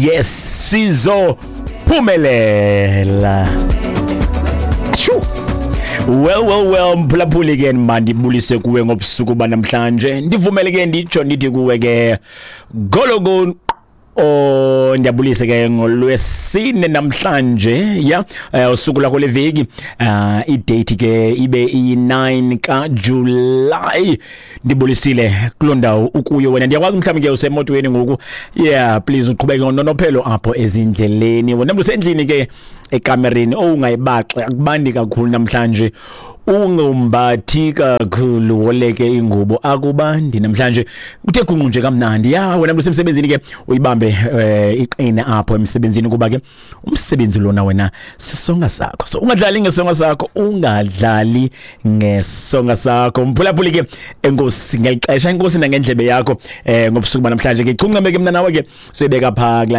Yes, sizophumelela. Shoo. Well, well, well, mphulaphuli ke, mandibulise kuwe ngobusuku banamhlanje. Ndivumele ke nditsho ndithi kuwe ke gologo. Oh, ndiyabulisa ke ngolwesine namhlanje, ya, usuku lakho leveki, idate ke ibe iyi-9 kaJuly. Ndibulisile kuloo ndawo ukuyo wena. Ndiyakwazi mhlawumbi ke usemotweni ngoku. Yeah, please uqhubeke ngononophelo apho ezindleleni. Wena mntu usendlini ke, ekamereni, owungayibaxe, akubandi kakhulu namhlanje, ungumbathi kakhulu, woleke ingubo, akubandi namhlanje, uthe gunqu nje kamnandi. Ya, wena mntu usemsebenzini ke, uyibambe iqine apho emsebenzini, kuba ke umsebenzi lona wena sisonga sakho, so ungadlali ngesonga sakho, ungadlali ngesonga sakho. Mphulaphuli ke, enkosi ngelixesha, enkosi nangendlebe yakho ngobusuku banamhlanje ke. Chuncame ke mna nawe ke soyibeka phaa kulaa.